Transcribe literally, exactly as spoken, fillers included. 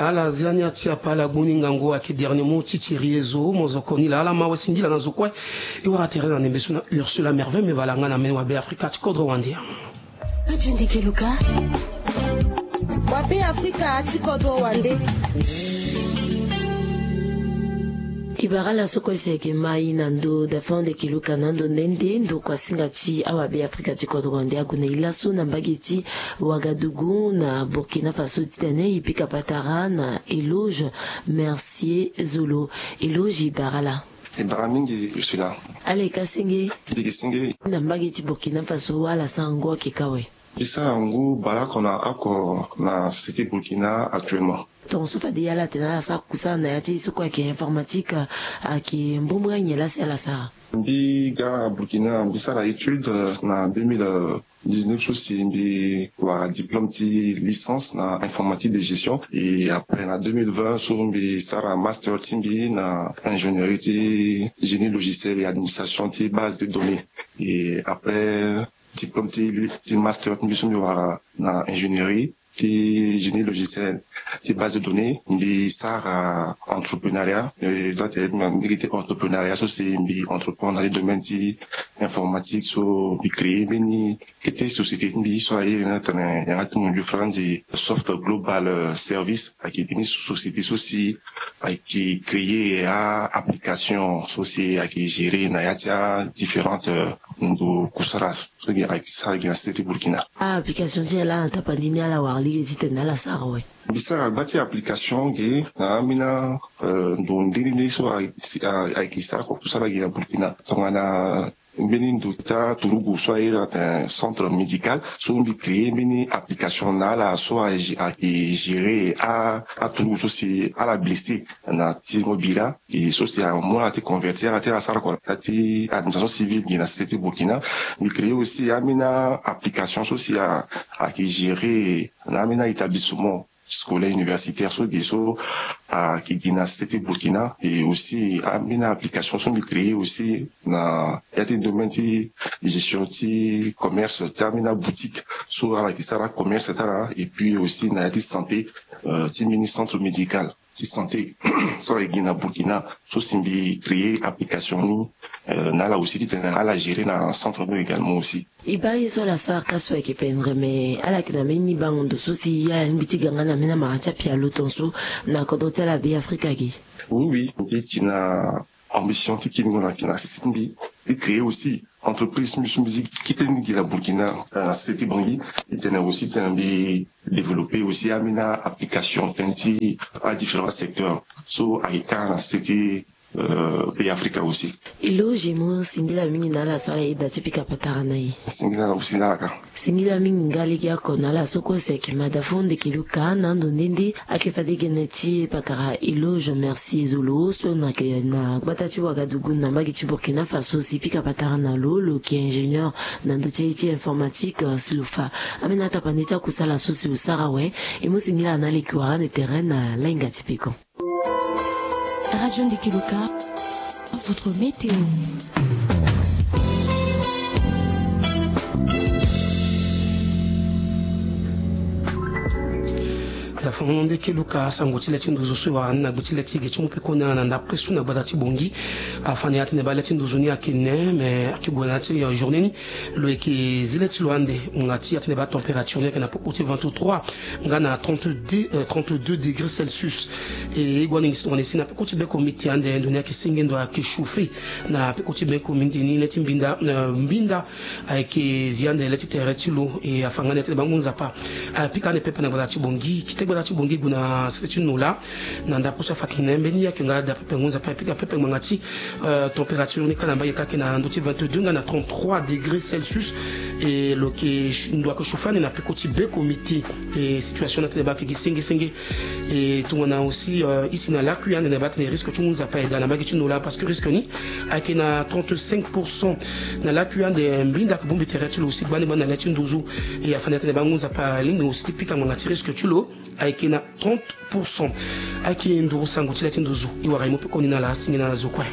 Ala zia ni ati apa ala gbu ni ngangu ayeke dernier mot ti Thierry Ezo, mo zo koni laa ala ma wa singila na zo kue. E wara tere na ndembe so na Ursula Merveille, me bala nga na mene wa Be Afrika ti kodro wande. Ka ti ndeke luka. Wa Be Afrika ti kodro wande. E bara ala so kue si ayeke ma e na ndo dafande keluka na ndo nde nde ndo kua singa ti awa Be Afrika ti kodro wande ague na e laso na mbage ti Ouagadougou na Burkina Faso titene e pika patara na Eloge Mercier Zolo. Eloge, e bara ala. E bara mingi Ursula. Ala yeke senge. Ndeke senge. Na mbage ti Burkina Faso ala sara ngu ayeke ka awe? Mbi sara ngu baleoko na oko na société Burkina actuellement. Tongaso fade ala tene ala sara kusala na ya ti e so kue ayeke informatique, ayeke mbumbri anyen laa si ala sara? Mbi ga Burkina, mbi sara étude, euh, na deux mille dix-neuf so si mbi wara diplôme ti licence na informatique de gestion. Et après na deux mille vingt so mbi sara master ti mbi na ingénierie ti génie logiciel et administration ti base de données. Et après diplôme ti, ti master ti mbi so mbi wara na ingénierie ti génie logiciel ti base de données, mbi sara entrepreneuriat. Eza tene mbi gi ti entrepreneuriat so si mbi entreprendre na ti domaine ti informatique so mbi créer mbeni kete société ti mbi so airi ni atene yanga ti munju franzi Soft Global, euh, Service. Ayeke mbeni société so si ayeke créer a application so si ayeke gérer na ya ti a différentes, euh, ndo kusala so gi ayeke sara gi na société ti Burkina. A application ti ala na tapani ni ala wara lege titene ala sara awe? Mbi sara gba ti application ge na ambeni, euh, ndo nde nde nde so ayeke, ayeke sara kusala ge na Burkina. Tongana mbeni ndo ti aturugu so airi atene centre médical so mbi créer mbeni application na ala so ayeke gérer a, aturugu so si ala blessé na ti mobila. E so si amu ala ti convertir ala ti ala sara kua na ya ti administration civile gi na société Burkina. Mbi créer aussi ambeni application so si a, ayeke gérer na ambeni établissement scolaire universitaire so gi so ayeke gi na société Burkina. Et aussi ambeni application so mbi créer aussi na ya ti domaine ti gestion ti commerce ti ambeni boutique so ala yeke sara commerce ti ala. Et puis aussi na ya ti santé, euh, ti mbeni centre médical ti santé so ayeke gi na Burkina so si mbi créer application ni, euh, na ala aussi titene ala gérer na centre ni également aussi. E baa ye so ala sara ka so ayeke pendre, me ala yeke na mbeni bango ndo so si ala lingbi ti ga nga na mbeni amara ti apialo tongaso na kodro ti ala Be Afrika ge? Oui, oui, mbi yeke na ambition ti kiringo na yeke na si ti mbi ti créer aussi entreprise ti mbi so mbi zi kite ni gi na Burkina, euh, na société Bangui. E tene aussi titene mbi développer aussi ambeni application tënë ti a différents secteurs so ayeke ka na société, euh, Be Afrika aussi. Eloge, mo singila mingi na ala so ala yeda ti pika patara na e. Singila na, singila na ala ka. Singila mingi nga legeoko na ala so kue si ayeke mada fo ndeke luka na ando nde nde. Ayeke fade gene ti pakara Eloge Mercier Zolo so na yeke na gbata ti Ouagadougou na mbage ti Burkina Faso si pika patara na lo, lo yeke ingénieur na ndö ti aye ti informatique, euh, si lo fa ambeni atapani ti akusala so si lo sara awe. E mu singila na ala e yeke wara ande tere na lainga ti peko. Radio Ndeke Luka, votre météo. Dafa mo ndeke luka sango ti le ti nduzu so e wara ni na gbe ti le ti ge ti mu peko ni ala na ndapre so na gbata ti Bongi. Afani atene baa le ti nduzu ni ayeke ne, me ayeke gue na ya ti, euh, journée ni. Lo yeke zi le ti lo ande, ngbanga ti atene baa température ni ayeke na popo ti vingt-trois nga na trente-deux, euh, trente-deux degrés Celsius. E e gue ande ngi si tongana e si na peko ti beko miti ande ndo ni ayeke senge ndo ayeke chauffer. Na peko ti beko miti ni le ti mbinda, euh, mbinda ayeke zi ande le ti tere ti lo. E afa nga ni atene baa ngu nzapa apika ande pepe na gbata ti Bongi. Kite gbata ti Bongi gue na sese ti nola. Na ndapre so afa tene mbeni ye ayeke nga daa pepe ngu nzapa apika pepe ngbanga ti, euh, température ni ka na mbage ka ayeke na ndö ti vingt-deux nga na trente-trois degrés Celsius. E lo yeke ndo ayeke chauffer ande na peko ti beko miti. E situation ni atene baa ayeke gi senge senge. E tongana aussi, euh, e si na lakui ande na baa atene risque ti ngu nzapa e daa na mbage ti nola parce que risque ni ayeke na trente-cinq pour cent. Na lakui ande mbinda ayeke bongbi tere ti lo aussi gbani gbani na le ti nduzu. E afani atene baa ngu nzapa alingbi aussi ti pika ngbanga ti risque ti lo ayeke na trente pour cent. Ayeke nduru sango ti le ti nduzu. E wara e mu pekoni na ala, asingi na ala zo kue.